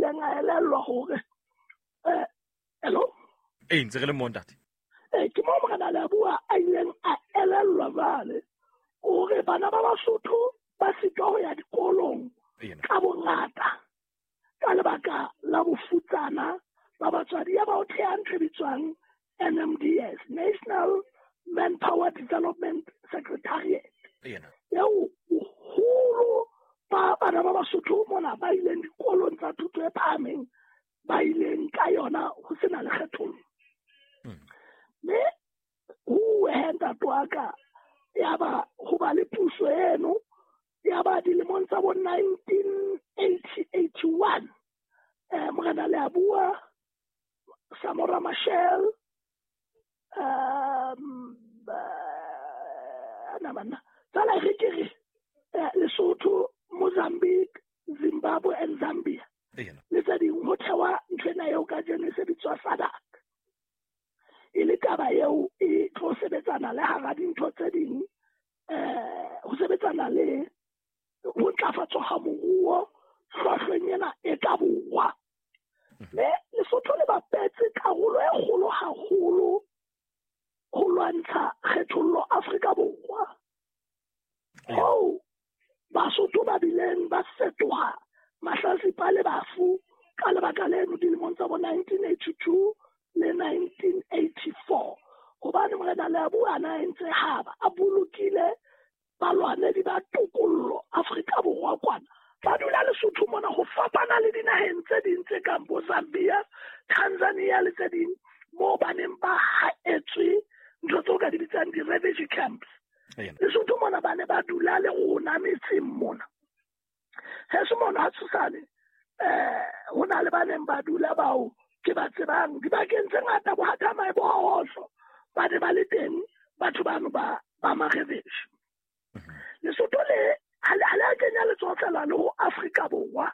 ileng a elellwa hore hello? Ee, ntse re le mo, ntate. Ke moo Morena Leabua a ileng a elellwa jwale hore bana ba Basotho ba sitwa ho ya dikolong ka bongata ka lebaka la bofutsana ba batswadi. Ya ba o theha ntho e bitswang NMDS, National Manpower Development Secretariat, eo boholo ba bana ba Basotho mona ba ileng dikolong tsa thuto e phahameng ba ileng ka yona ho sena le kgethollo. Mme ho ntate wa ka, ya ba ho ba le puso eno, ya ba dilemong tsa bo 1980 81, Morena Leabua, Samora Machel, na banna tsala re ke re Lesotho, Mozambique, Zimbabwe and Zambia le tse ding, ho thewa ntho ena eo kajeno e se bitswa SADC, e le taba eo e tlo sebetsana le hara dintho tse ding, ho sebetsana le ho ntlafatswa ha moruo hlwahlweng ena e ka borwa. Mme Lesotho le bapetse karolo e kgolo haholo ho lwantsha kgethollo Afrika Borwa, hoo Basotho ba bileng ba fetoha mahlatsipa le bafu ka lebaka leno dilemong tsa bo 1982 le 1984, hobane Morena Leabua a entse haba a bolokile balwanedi ba tokollo Afrika Borwa kwana ba dula Lesotho mona, ho fapana le dinaheng tse ding tse kang bo Zambia, Tanzania le tse ding, moo ba neng ba haetswe ntho tseo ka di bitsang di-refugee camps. Lesotho mona ba ne ba dula le rona metseng mona. Heso mona ha tshosane, ho na le ba neng ba dula bao ke ba tsebang dibakeng tse ngata, bo Hathamae, bo Hahohlo, ba ne ba le teng batho bano ba Marebeshi. Lesotho le ha le a kenya letsoho fela le ho Afrika Borwa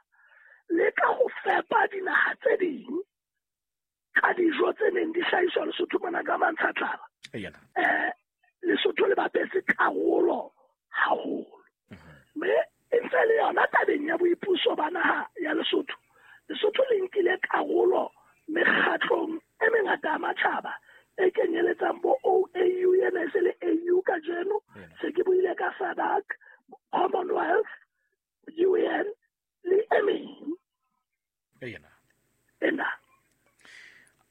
le ka ho fepa dinaha tse ding ka dijo tse neng di hlahiswa Lesotho mona ka mantshatlala. Lesotho le bapetse karolo haholo. Mme e ntse le yona tabeng ya boipuso ba naha ya Lesotho. Lesotho le nkile karolo mekgatlong e mengata ya matjhaba e kenyeletsang bo OAU, ena e se le AU kajeno, se ke buile ka SADC, Commonwealth, UN le e meng. Ena.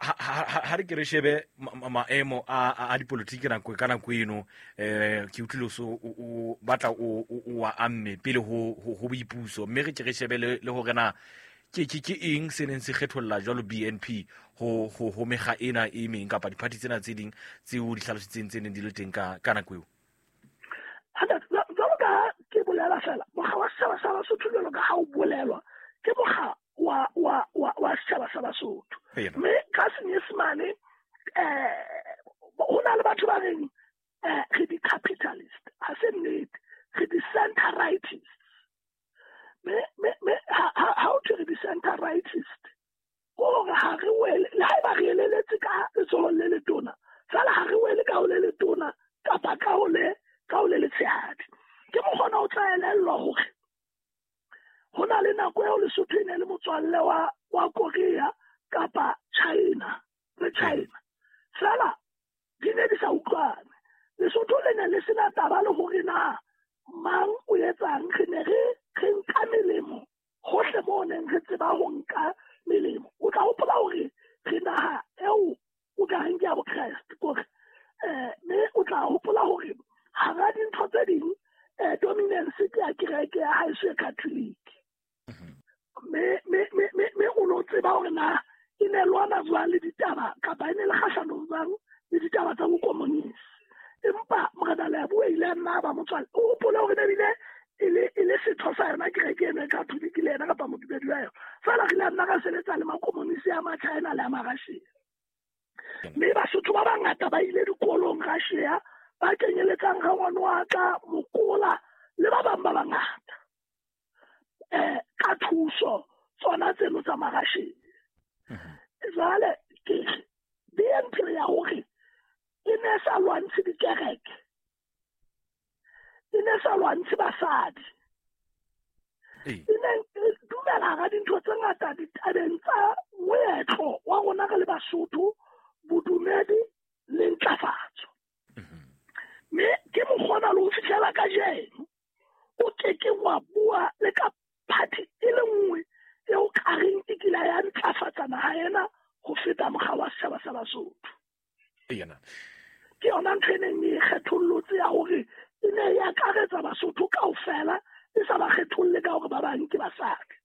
Ha re ke re shebe maemo a dipolotiki nako ka nako eno, ke utlwile so o batla o wa amme pele ho boipuso, mme re ke re shebe le hore na ke eng se neng se kgetholla jwalo BNP ho mekga ena e meng kapa diphathi tsena tse ding tseo di hlalositseng tse neng di le teng ka nako eo. Jwalo ka ke bolela fela, mokga wa setjhaba sa Basotho jwalo ka ha o bolelwa ke mokga wa setjhaba sa Basotho. Mme ka Senyesemane ho na le batho ba reng re di-capitalist, ha se nnete, re di-center rightist. Me ha o thwe re di-center rightist, ke hore ha re wele, le haeba re eleletse ka letsohong le letona, feela ha re wele ka ho le letona kapa ka ho le letshehadi. Ke mokgona o tla elellwa hore ho na le nako eo Lesotho e ne le motswalle wa Korea kapa China le China, feela di ne di sa utlwane. Lesotho le ne le sena taba le hore na mang o etsang, re ne re nka melemo hohle moo neng re tseba ho nka melemo. O tla hopola hore re naha eo o ka reng ke ya Bokreste, kore mme o tla hopola hore hara dintho tse ding dominance ke ya kereke ya haeso e Catholic. Me o no tseba hore na e ne lwana jwang le ditaba kapa e ne le kgahlanong jwang le ditaba tsa bokomonisi. Empa Morena Leabua ile a nna ba motswalle. O hopole hore ne bile e le setho sa yona kereke eno e Catholic le yena kapa modumedi wa yona. Feela re ile a nna ra sebetsa le makomonisi a Machina le a Marussia. Mme Basotho ba bangata ba ile dikolong Russia, ba kenyeletsang rangwane wa ka, Mokola le ba bang ba bangata, ka thuso tsona tseno tsa Marussia. Jwale ke BNP ya hore e ne sa lwantshe dikereke, e ne sa lwantshe basadi, e ne dumela hara dintho tse ngata ditabeng tsa moetlo wa rona re le Basotho, bodumedi le ntlafatso. Mme ke mokgona le ho fihlela kajeno o keke wa bua le ka party e le nngwe eo ka reng e kile ya ntlafatsa naha ena ho feta mokga wa setjhaba sa Basotho. Ke yona ntho e neng e kgethollotse ya hore e ne e akaretsa Basotho kaofela, e sa ba kgetholle ka hore ba bang ke basadi.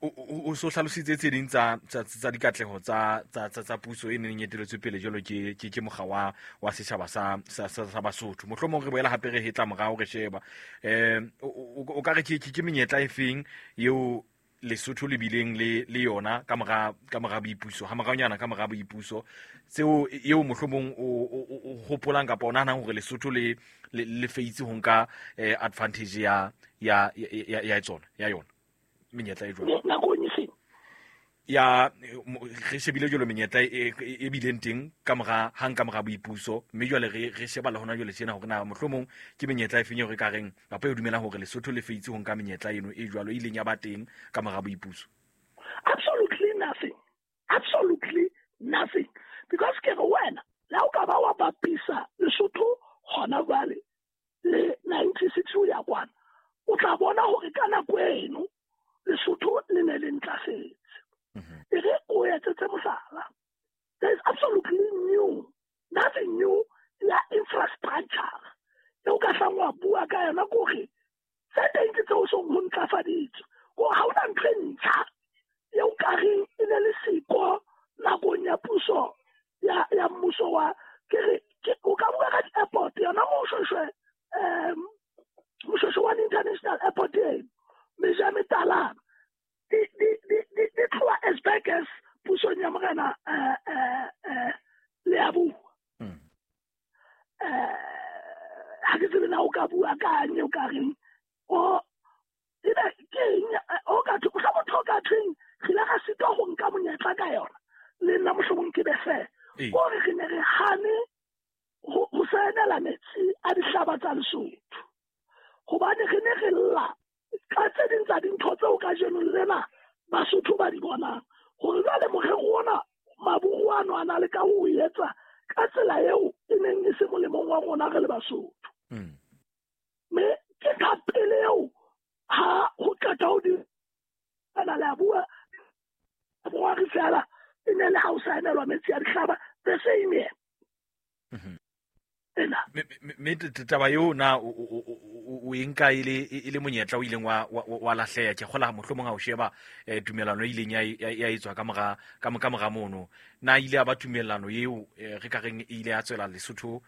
O so hlalositse tse ding tsa dikatleho tsa puso e neng e eteletswe pele jwalo ke mokga wa setjhaba sa Basotho. Mohlomong re boela hape re hetla morao re sheba o ka re ke menyetla e feng eo Lesotho le bileng le yona ka mora boipuso, ha moraonyana ka mora boipuso, tseo eo mohlomong o hopolang kapa o nahanang hore Lesotho le feitse ho nka advantage ya tsona ya yona menyetla e jwalo nakong e feng ya re shebile jwalo menyetla e bileng teng ka mora hang ka mora boipuso, mme jwale re sheba le hona jwale tjena hore na mohlomong ke menyetla e feng eo re ka reng kapa e dumelang hore Lesotho le feitse ho nka menyetla eno e jwalo e ileng ya ba teng ka mora boipuso. Absolutely nothing. Absolutely nothing. Because ke re wena le ha o ka ba wa bapisa Lesotho hona jwale le 96 ho ya kwana, o tla bona hore ka nako eno Lesotho le ne le ntlafetse. E re o etsetse mohlala, there is absolutely nothing new ya infrastructure eo ka hlang wa bua ka yona, kore tse teng ke tseo song ho ntlafaditswe, kore ha hona ntho e ntjha eo ka reng e ne le siko nakong ya puso ya mmuso wa ke re o ka bua ka di-airport yona Moshoeshoe Moshoeshoe one International Airport eno meja metalana di tloha as back as pusong ya morena Leabua. Ha ke tsebe na o ka bua ka eng o ka reng o ebe ke eng o ka thwe mohla motho o ka thweng re ile ra sitwa ho nka monyetla ka yona le nna mohlomong ke be fair, kore re ne re hane ho saenela metsi a dihlaba tsa Lesotho, hobane re ne re lla ka tse ding tsa dintho tseo kajeno lena Basotho ba di bonang hore jwale morero ona maburu ano a na le ka ho etsa ka tsela eo e neng e se molemong wa rona re le Basotho. Mme ke ka pele eo ha ho qeta ho di ana le a bua borwari fela e ne le ha o saenelwa metsi a dihlaba the same year. Mme taba eo na o e nka e le monyetla o ileng wa lahleha? Ke kgola mohlomong ha o sheba tumellano e ileng ya etswa ka mora mono, na ile ya ba tumellano eo re ka reng e ile ya tswela Lesotho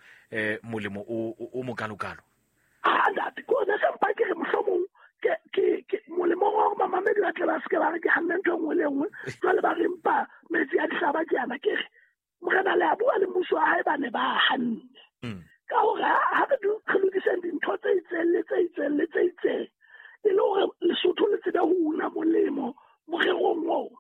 molemo o mokalokalo? Ntate, ko ne se mpa ke re mohlomong ke molemong wa hore mamamedi ba tle ba seke ba re ke hanne ntho e nngwe le e nngwe, jwale ba re mpa metsi a dihlaba ke yana, ke re morena le a bua le mmuso wa hae ba ne ba hanne. Ka hore ha re lokiseng dintho tse itseng le tse itseng le tse itseng e le hore Lesotho le tsebe ho una molemo morerong ona.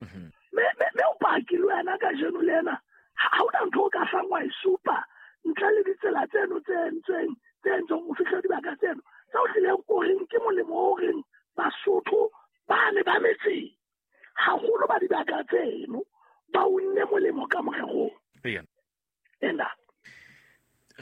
Mme o paki le wena kajeno le ena ha hona ntho o ka hlang wa e supa ntle le ditsela tseno tse entsweng tse entsweng ho fihla dibaka tseno tseo hlileng o reng ke molemo o reng Basotho ba ne ba metseng haholo ba dibaka tseno ba unne molemo ka morerong ena.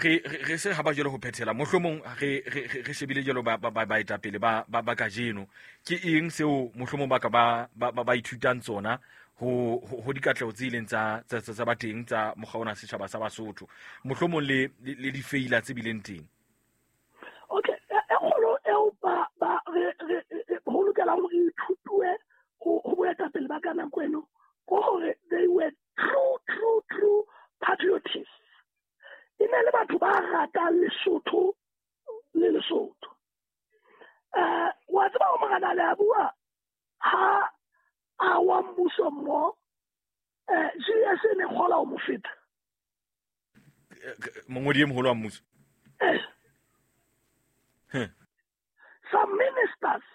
Re se ha ba jwalo ho phethela, mohlomong re shebile jwalo ba baetapele ba kajeno, ke eng seo mohlomong ba ka ba ithutang tsona ho dikatleho tse ileng tsa ba teng tsa mokga ona setjhaba sa Basotho, mohlomong le difeila tse bileng teng? Okay, e kgolo eo ba re ho lokela hore re ithutwe ho boetapele ba ka nako eno ke hore they were true patriotists. E ne le batho ba ratang Lesotho le Lesotho. Wa tseba ho morena le a bua ha a wa mmuso mo GS e ne kgola ho mo feta. Mongodi e moholo wa mmuso. Some ministers,